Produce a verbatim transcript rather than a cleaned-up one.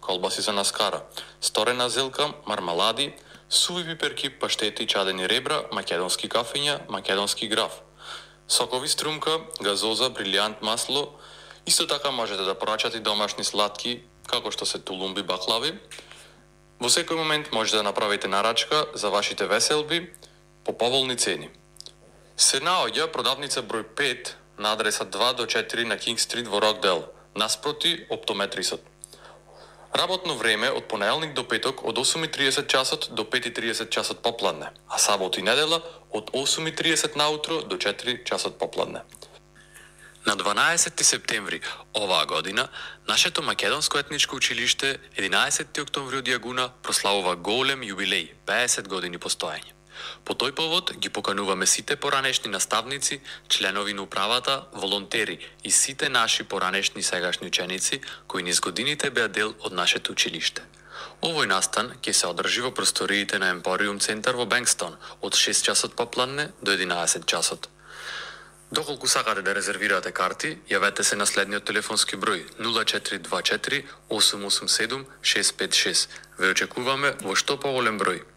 колбаси за наскара, сторена зелка, мармалади, суви пиперки, паштети, чадени ребра, македонски кафења, македонски граф, сокови струмка, газоза, брилијант масло. Исто така можете да порачате домашни сладки, како што се тулумби, баклави. Во секој момент можете да направите нарачка за вашите веселби по поволни цени. Се наоѓа продавница број пет на адреса два до четири на Кинг Стрит во Рокдел, наспроти оптометрисот. Работно време од понеделник до петок од осум и триесет часот до пет и триесет часот попладне, а сабота и недела од осум и триесет наутро до четири часот попладне. На дванаесети септември оваа година, нашето македонско етничко училиште единаесети октомври од Јагуна прославува голем јубилеј, пеесет години постоење. По тој повод ги покануваме сите поранешни наставници, членови на управата, волонтери и сите наши поранешни сегашни ученици кои низ годините беа дел од нашето училиште. Овој настан ќе се одржи во просториите на Емпориум центар во Бенкстон од шест часот попладне до единаесет часот. Доколку сакате да резервирате карти, јавете се на следниот телефонски број нула четири два четири осум осум седум шест пет шест. Ве очекуваме во што поголем број.